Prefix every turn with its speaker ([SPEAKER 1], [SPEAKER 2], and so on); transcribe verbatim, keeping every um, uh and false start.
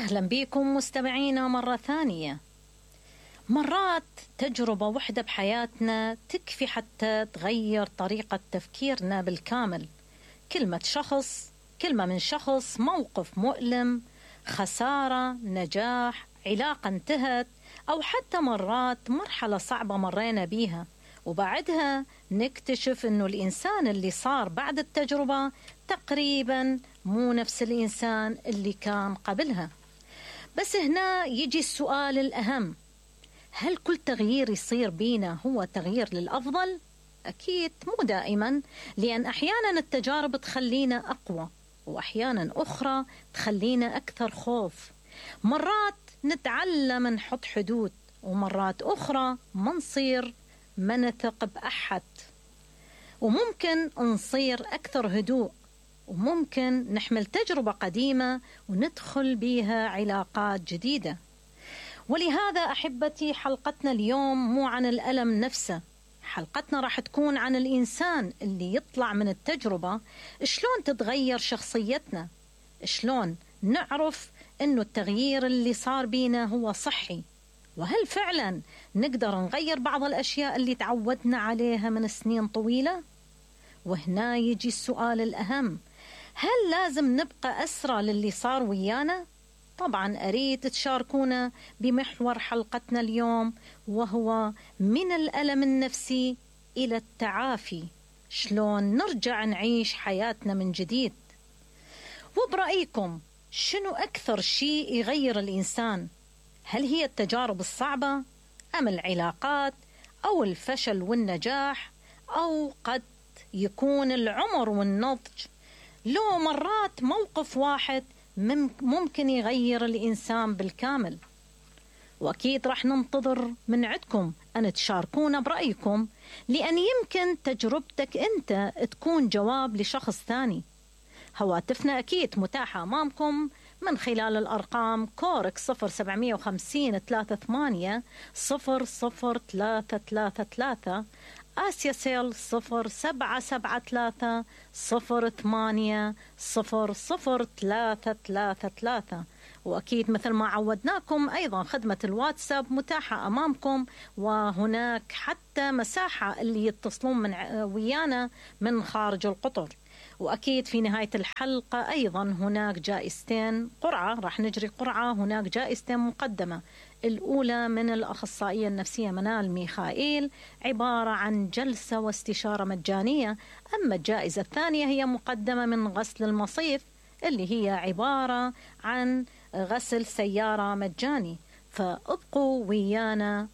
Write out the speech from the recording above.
[SPEAKER 1] أهلا بكم مستمعينا مرة ثانية. مرات تجربة وحدة بحياتنا تكفي حتى تغير طريقة تفكيرنا بالكامل. كلمة شخص، كلمة من شخص، موقف مؤلم، خسارة، نجاح، علاقة انتهت، أو حتى مرات مرحلة صعبة مرينا بيها وبعدها نكتشف أنه الإنسان اللي صار بعد التجربة تقريبا مو نفس الإنسان اللي كان قبلها. بس هنا يجي السؤال الأهم: هل كل تغيير يصير بينا هو تغيير للأفضل؟ أكيد مو دائما، لأن أحيانا التجارب تخلينا أقوى وأحيانا أخرى تخلينا أكثر خوف. مرات نتعلم نحط حدود ومرات أخرى ما نصير ما نثق بأحد، وممكن نصير أكثر هدوء، وممكن نحمل تجربة قديمة وندخل بيها علاقات جديدة. ولهذا أحبتي حلقتنا اليوم مو عن الألم نفسه، حلقتنا راح تكون عن الإنسان اللي يطلع من التجربة. شلون تتغير شخصيتنا؟ شلون نعرف إنه التغيير اللي صار بينا هو صحي؟ وهل فعلا نقدر نغير بعض الأشياء اللي تعودنا عليها من سنين طويلة؟ وهنا يجي السؤال الأهم: هل لازم نبقى أسرى للي صار ويانا؟ طبعا أريد تشاركونا بمحور حلقتنا اليوم، وهو من الألم النفسي إلى التعافي، شلون نرجع نعيش حياتنا من جديد. وبرأيكم شنو أكثر شيء يغير الإنسان؟ هل هي التجارب الصعبة أم العلاقات أو الفشل والنجاح، أو قد يكون العمر والنضج؟ لو مرات موقف واحد ممكن يغير الإنسان بالكامل. وأكيد رح ننتظر من عندكم أن تشاركونا برأيكم، لأن يمكن تجربتك أنت تكون جواب لشخص ثاني. هواتفنا أكيد متاحة أمامكم من خلال الأرقام كورك صفر سبعمية وخمسين ثلاثة ثمانية صفر صفر ثلاثة ثلاثة ثلاثة، آسيا سيل صفر سبعة سبعة ثلاثة صفر ثمانية صفر صفر ثلاثة ثلاثة ثلاثة. وأكيد مثل ما عودناكم أيضا خدمة الواتساب متاحة أمامكم، وهناك حتى مساحة اللي يتصلون من ويانا من خارج القطر. وأكيد في نهاية الحلقة أيضا هناك جائزتين قرعة، راح نجري قرعة، هناك جائزتين مقدمة. الأولى من الأخصائية النفسية منال ميخائيل، عبارة عن جلسة واستشارة مجانية. أما الجائزة الثانية هي مقدمة من غسل المصيف، اللي هي عبارة عن غسل سيارة مجاني. فابقوا ويانا